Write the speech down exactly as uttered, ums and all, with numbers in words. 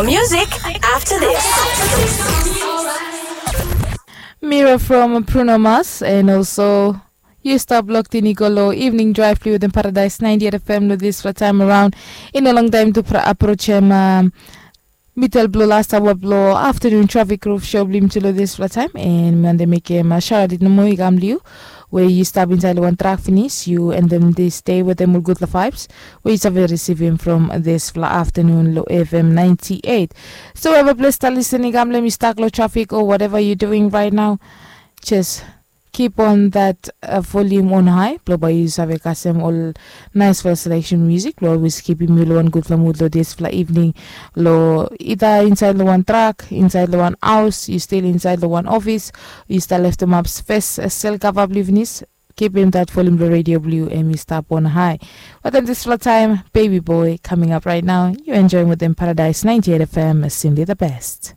Music after this. Mira from Bruno Mars, and also yu stap locked in i go long Evening Drive blong wetem Paradise ninety-eight F M long dispela taim around. I no longtaim tu approach em. Middle blong last hour blong afternoon traffic roof show blong yumi tu long dispela taim, and mi wante mekim shout out nomo i kam long yu, we yu stap inside long wan truck finish, yu and then this day wetem ol gutpela vibes we yu save receivim from dispela afternoon long F M ninety-eight. So wherever place ta listen i kam, let me stuck long traffic or whatever you doing right now, just keep on that uh, volume on high blong bai yu save kasem ol nice fela selection music blong always kipim yu long wan gutpela mood long dispela evening. Long either inside long wan truck, inside long wan house, yu still inside long wan office, yu stap leftemap space uh, sel kava blong yu finis. Kipim that volume long radio blong yu em i stap on high. Wetem dispela taim, Baby Boy coming up right now. Yu enjoyim wetem Paradise ninety-eight F M, simply the best.